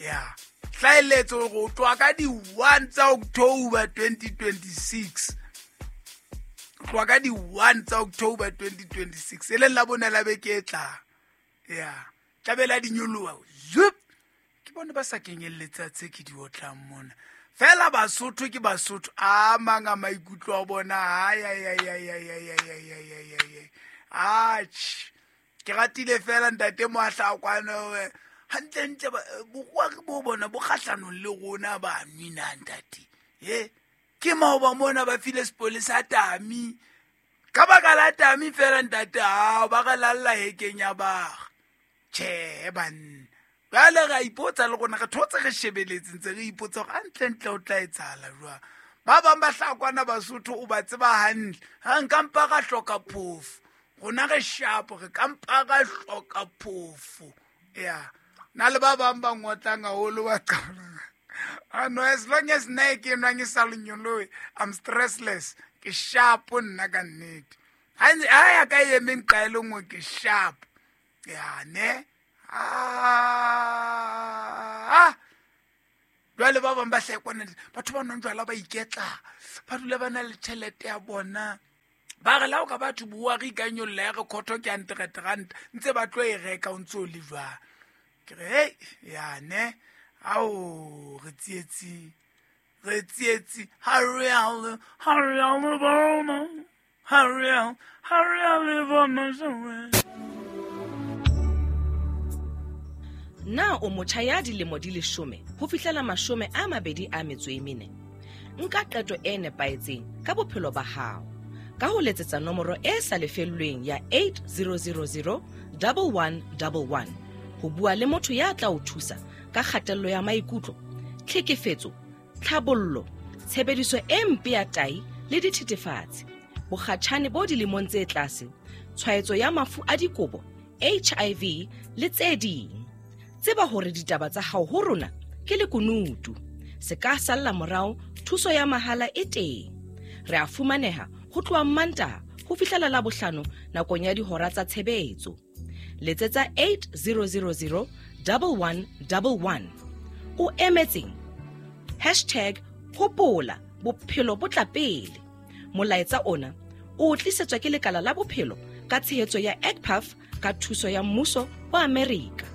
Ya hlaeletse gore o tloa ka di-1 tsa October 2026, o tloa ka di-1 tsa October 2026, e leng la bone la beke e tlang. Ya tlabela di nyoloha zup. Ke bone ba sa kenyelletsa tse ke di otlang mona fela. Basotho ke Basotho, a mang a maikutlo a bona. Ayayayayayayayayayayay, atjhe, ke ratile fela ntate Moahlakwane. Gantlentle bokoa ke bo bona bo kgahlanong le rona ba nwina, ntate. E ke maoba mona ba file sepolesa tami ka baka la tami fela, ntate. Ao ba re lalla hekeng ya baga. Tjhe banna, jale re a ipotsa le rona, re thotse, re shebeletse, ntse re ipotsa gore gantlentle o tla etsahala jwang. Ba bang ba hlakwana Basotho, o ba tseba hantle. Ga nkampa ra hloka phofo, rona re shapo, re kampa ra hloka phofo. Ya na le ba bang ba ngotlang haholo, ba qala ano, as long as nna e ke nwang e sa lenyoloe, I'm stressless, ke shapo nna ka nnete. Ha ya ka e emeng qa e le nngwe, ke sharp. Ya ne, ah, jwale ba bang ba hlekwana, batho ba nwang jwala ba iketla, ba dula ba na le tšhelete ya bona. Ba re la o ka batho bua, re ikanyolla ya re khotho ke 100 rand, ntse ba tlo e reka o ntse o le jwang. Ke re hei, yane ao, re tsietsing, re tsietsi. Ha re ha re a le bona, ha re a ha re a le bona. Na o motjha ya dilemo di 10 ho fihlela 24? Nka qeto e nepahetseng ka bophelo ba hao ka ho letsetsa nomoro e sa lefellweng ya 8000 1111 ho bua le motho ya tla o thusa ka kgatello ya maikutlo, tlhekefetso, tlhabollo, tshebediso e mpe ya tai le dithethefatsi, bokgatjhane bo dilemong tse tlase, tshwaetso ya mafu a dikobo, HIV le tse ding. Tseba hore ditaba tsa hao ho rona ke lekunutu, se ka salla morao. Thuso ya mahala e teng. Re a fumaneha ho tloha Mmantaha ho fihlela la bohlano nakong ya dihora tsa tshebetso. Letsetsa 8000 1111. O emetseng? #Hopola, bophelo bo tla pele. Molaetsa ona o tlisetswa ke lekala la bophelo ka tshehetso ya EGPAF ka thuso ya mmuso wa Amerika.